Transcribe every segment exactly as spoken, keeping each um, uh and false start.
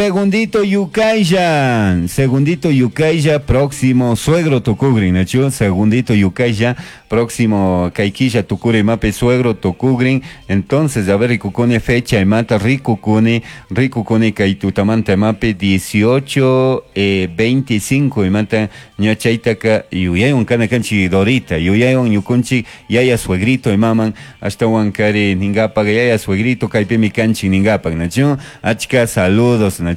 Segundito Yukaya, segundito Yukaya, próximo suegro tukugrin, nachu? Segundito Yukaya, próximo Kaikilla tukuri mape suegro tukugrin. Entonces, a ver, rikukuni fecha imata, rikukuni, rikukuni kaitutamanta mape dieciocho eh, veinticinco imata, ñachaitaka yuyaywan kana kanchi Dorita, yuyaywan ñukunchi yaya suegrito imaman, hasta wankari ningapak yaya suegrito kaipimi kanchi ningapak, nachu? Achka saludos, nachu?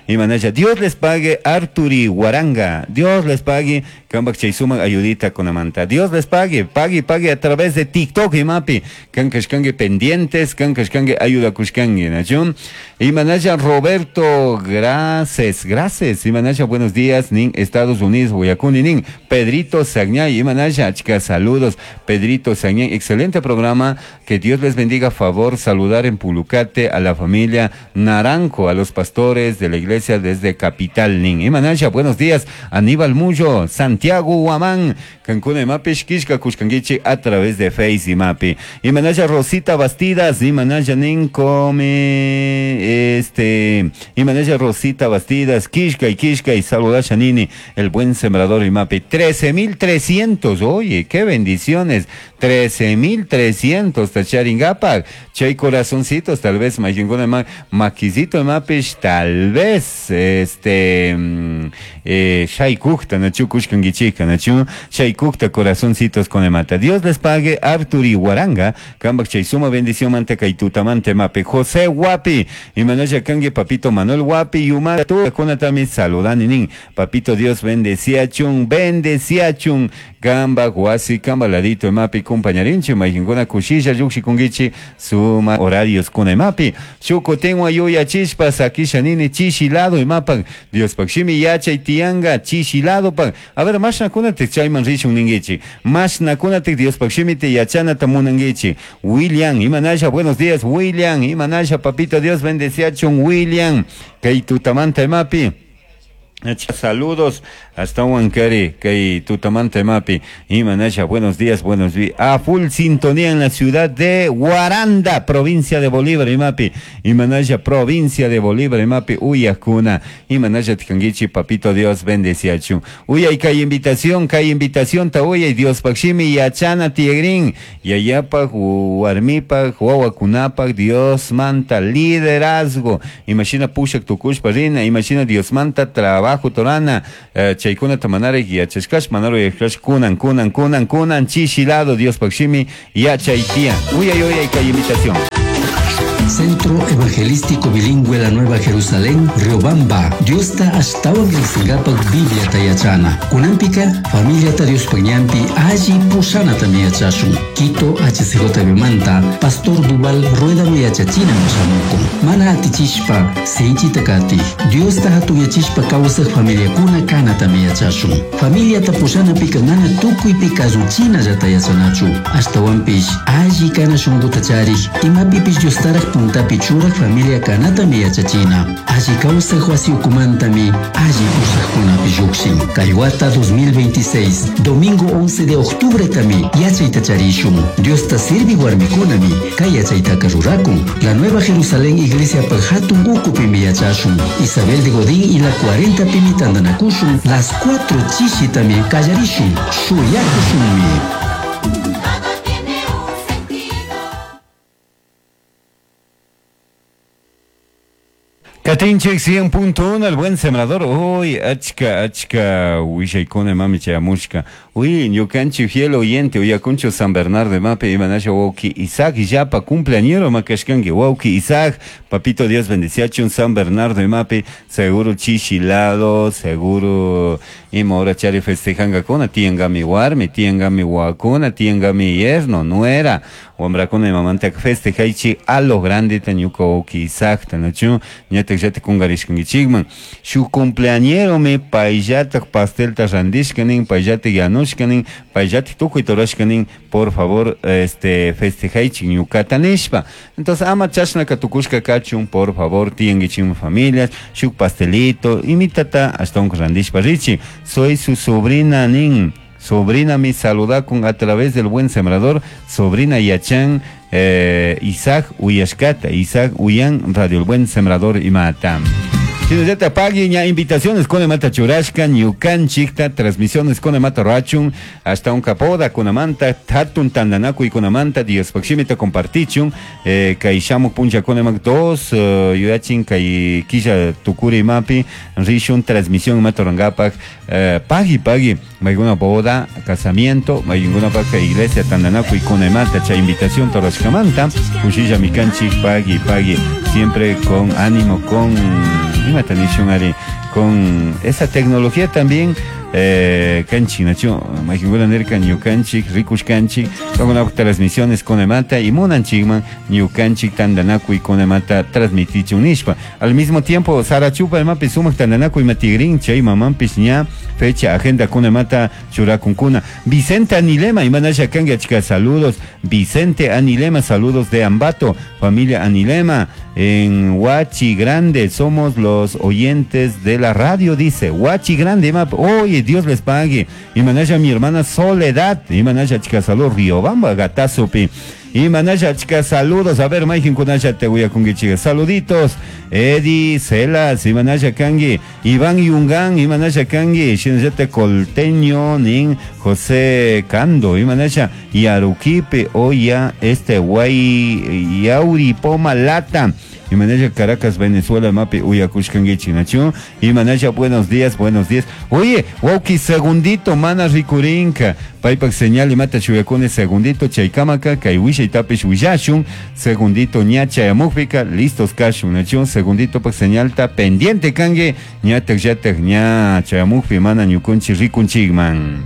Imanasha, Dios les pague Arturi Guaranga, Dios les pague Kambak Chaysuma ayudita kunamanta, Dios les pague, pague, pague a través de TikTok y mapi, kankashkangue pendientes, kankashkangue ayuda kushkangue, nachu? Imanasha Roberto, gracias, gracias, Imanasha, buenos días, nin Estados Unidos, Guayacuni, nin Pedrito Sagñay, Imanasha, achka saludos, Pedrito Sagñay, excelente programa, que Dios les bendiga, favor saludar en Pulucate a la familia Naranjo, a los pastores de la iglesia desde Capital, nin Imanasha, buenos días, Aníbal Mullo, Santiago Huamán, Cancún y Mapi, Xquixca, Cuxcanguichi, a través de Face y Mapi. Imanasha Rosita Bastidas, Imanasha nin come, este, Imanasha Rosita Bastidas, Quixca y Quixca y saludasha nini, el buen sembrador y Mapi. trece mil trescientos, oye, qué bendiciones, trece mil trescientos, tacharingapak, chay corazoncitos, tal vez, mayinguna ma, maquisito mapish, tal vez, este, eh, shaykukta, nachu kushkanguichika, nachu, shaykukta corazoncitos con emata. Dios les pague, Arturi Guaranga, kambak chay suma bendición manteca y tutamante mape, José Guapi, y Manaya Kangue, papito Manuel Guapi, Yuma, tu, kunatami, saludani nin, papito Dios bendecía chun, bendecía chun, kamba, guasi, kamba, ladito, emapi, compañarinchi, mayinguna, kushilla, yuxi, kungichi, suma, horarios, kuna, emapi, chuco, tengo, ayuya, chispas, akisha, nini, chishilado, emapan, Dios, pakshimi, yacha, y tianga, chishilado, pan. A ver, más nakuna te chayman rishun ningichi, más nakuna te Dios, pakshimi, te yachana, tamunangichi, William, imanasha, buenos días, William, imanasha, papito, Dios, bendecía, chun, William, kaitutamanta, emapi. Saludos hasta Huancaré, kay tutamante mapi, Imanasha, buenos días, buenos días. A full sintonía en la ciudad de Guaranda, provincia de Bolívar, imapi. Imanasha, provincia de Bolívar, imapi, Uyacuna. Imanasha, Tkanguichi, papito Dios, bendeciachu. Uy, hay kay invitación, kay invitación, ta uy, Dios pakshimi, yachana, tiegrin, yayapak, warmipak, wawakunapak, Dios manta, liderazgo. Imagina pushak tukushpa rina, imagina Dios manta, trabajo. Bajo torana, eh, chaykuna tamanare yachashkash, manaro yachashkash, kunan, kunan, kunan, kunan, chishilado, Dios pakshimi, yachaytia. Uy, ay, uy, ay, kay invitación. Centro Evangelístico Bilingüe La Nueva Jerusalén, Riobamba. Dios ta ashtawan riqsingapak Biblia tayachana. Kunampika, familia ta Dios pañampi, alli pushana tamiyachashun. Quito H C J B manta, Pastor Duval Rueda miyachachina mashamuku. Mana atichishpa, sinchi takati. Dios ta hatuyachishpa kawsaq familiakuna kana tamiyachashun. Familia ta pushana pika mana tukuypi kasuchina llatayachanachu. Ashtawanpish, alli kana shunquta charik, imapipish Dios taraq puntapi churak familia kanatami yachachina. Alli kawsaq wasi ukumantami, alli pusaqkunapi lluqshin. Kay wata dos mil veintiséis, domingo once de octubre tami, yachayta charishun. Dios ta sirvi warmikunami, kay yachaytaka rurakun. La Nueva Jerusalén Iglesia hatun ukupimi yachashun. Isabel de Godín y la cuarenta pimi tandanakushun, las cuatro chishitami kallarishun. Shuyakushunmi. Katinchik cien punto uno, el buen sembrador. Uy, achka, achka, wishaykuna mami chayamushka. Uy, ñukanchi fiel oyente, uyakuncho San Bernardo mape, imanasha wauki Isaac, yapa cumpleañero makashkanki, wauki Isaac, papito Dios bendeciachun San Bernardo mape, seguro chishilado, seguro, ima hora chari festejanga kona, tiangami warmi, tiangami wakuna, tiangami yerno, nuera, wambrakuna imamanta festejaichi a lo grande tañuka wauki Isaac, tanachu, ñata yate kungarishkankichikman. Shu cumpleañero me payllatak pastelta randishkanin, payllatak yanushkanin, payllatak tukuy torashkanin, por favor, este, festejaichik ñukata nishpa. Entonces, ama chashnaka tukushka kachun, por favor, tiyankichikman familias, shuk pastelito, imitata hasta un randishpa richi. Soy su sobrina nin. Sobrina mi saludakun a través del buen sembrador, sobrina Yachan, eh, Isaac Uyashkata, Isaac Uyan, Radio El Buen Sembrador y Matam. Shinallata pagui ña invitaciones con mata churashka ñukanchikta transmisiones con mata rachun hasta un capoda kunamanta hatun tandanakuy kunamanta Diospaj shimita compartichun eh, kay shamuk puncha kunamak dos uh, yuyachin kay killa tukuri mapi rishun transmisión mata rangapak eh, pagui pagui mayguna boda casamiento mayguna paka iglesia tandanakuy kunamanta chay invitación torashkamanta kushilla mikanchik pagui pagui siempre con ánimo con imata nishun ari con esa tecnología también eh, kanchik nachu maykinguna nirka ñukanchik rikushkanchik con transmisiones kunamanta y munanchikman ñukanchik tandanakuy kunamanta transmitichun nishpa al mismo tiempo Sarachupa imapi sumak tandanakuy matigrin chay mamanpish ña fecha agenda kunamata churakunkuna Vicente Anilema imanasha kanki achka saludos Vicente Anilema saludos de Ambato familia Anilema en Huachi Grande somos los oyentes de la radio dice Huachi Grande ima oye Dios les pague imanasha mi hermana Soledad imanasha achka saludos Riobamba Gatazupi imanasha achka saludos a ver mayjin kunasha te uyakunkichika saluditos Eddie Celas imanasha kanki Iván Yungan imanasha kanki shinallata Colteño nin José Cando imanasha Yaruquipe oya este guay Yauri Poma Lata imanasha Caracas Venezuela mapi uyakushkankichik nachu imanasha buenos días buenos días oye wawki segundito mana rikurinka paypak señal imata shuyakuni segundito chaykamaka kay willaytapish willashun segundito ña chayamukpika listos kashun nachu segundito pak señalta pendiente kanki ñatak llatak ña chayamukpi mana ñukunchik rikunchikman.